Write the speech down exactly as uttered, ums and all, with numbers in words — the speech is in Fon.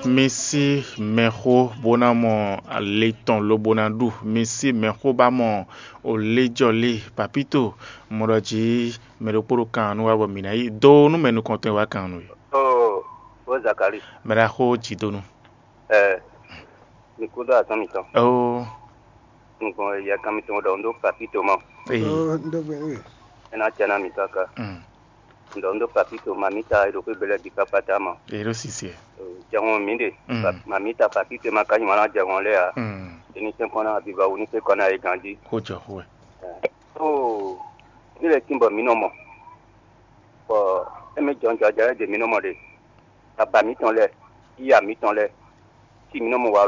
Mi sí mɛxó bó ná mɔ le tɔn lobo ná ɖu. Mi sí mɛxó bá mɔ oléjɔlé. Papito, mɔ ɖɔ jí mɛ ɖokpó ɖo kan nú wá bɔ mǐ ná yi dó nú mɛ nukɔntɔn e wá kan nú é. Ó, ó Zakali. Mɛ ɖaxó jǐdonu. Ɛ, mi kúdó azɔn mitɔn. Ó. Un gbɔn yɛ kan mitɔn ɖɔ un ɖó Papito mɔ. Ee. Ó, un ɖó gbɛ nú we. É ná jɛ ná mi káká. Mm. Un ɖɔ un ɖó Papito, mamita e ɖo xwé gbe lɛ́ɛ bǐ kpákpáta mɔ. Ero sisi. Jɛhɔn mi ɖe. Mm. Mamita Papito ma ka nyi wǎn ná jɛhɔn lɛ́ɛ ǎ. Mm. Ení sɛn kɔn ná abiba wú ní sɛn kɔn ná yé ganjí. Xó jɔ xó wɛ. Ó, ní lɛ tín bɔ mǐ nɔ mɔ. Bɔ émí jɔnjɔ́ jɛ lɛ́ɛ ɖe mǐ nɔ mɔ ɖe. Baba mǐtɔn lɛ́ɛ, yíya mǐtɔn lɛ́ɛ, sí mǐ nɔ mɔ walɔ.